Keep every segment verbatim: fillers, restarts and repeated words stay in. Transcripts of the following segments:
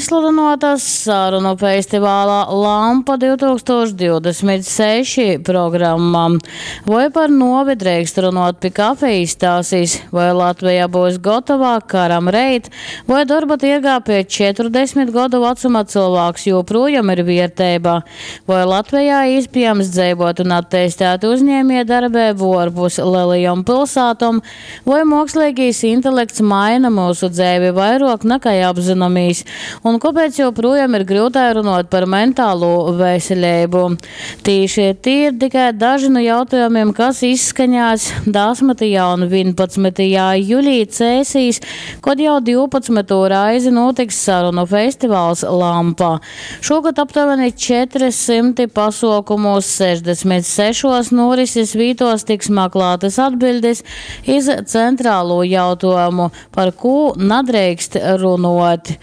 Izsludynuota sarunu festivala Lampa div tūkstūši divdesmit seši programma. Voi par nuovi dreikst runuot pi kafejis tasis, voi Latveja byus gotova karam reit, voi dorba tiergā piec četrudesmit godu vacuma cylvāks jūprūjom ir vierteiba, voi Latvejā īspiejams dzeivuot un atteistēt uzņēmiejdarbeibu uorpus lelajom pilsātom, voi muoksleigīs intelekts maina myusu dzeivi vairuok nakai apzynomīs, un kuopēc joprojām ir gryutai runuot par mentālū veseleibu. Tīši tī ir tikai daži nu jautājumiem, kas izskaņās desmitajā un vienpadsmitajā julī Cēsīs, kad jau divpadsmitū reizi notiks sarunu festivāls Lampa. Šogad aptuveni četri simti pasaukumos sešdesmit sešos norises vītos tiks meklētas atbildes iz centrālo jautājumu, par ko nadreikst runot.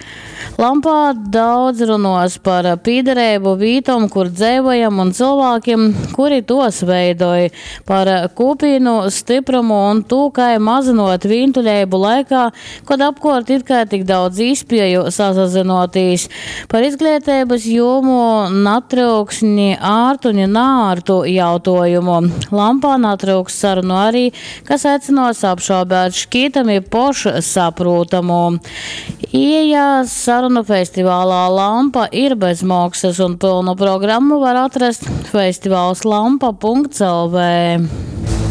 Lampā daudz runos par pīderību vītom, kur dzīvojam, un cilvēkiem, kuri tos veidoj, par kopīnu stiprumu un to, kā mazinot vīntuļību laikā, kad apkārt it kā tik daudz īspēju sasazinoties. Par izglītības jomu natryuks ni ārtu, ni nārtu jautājumu. Lampā natryuks sarunu arī, kas aicinos apšaubēt šķītami pošsaprūtamu. Ieja sarunu festivālā Lampa ir bez maksas, un pilnu programmu var atrast festivāls lampa punkts L V.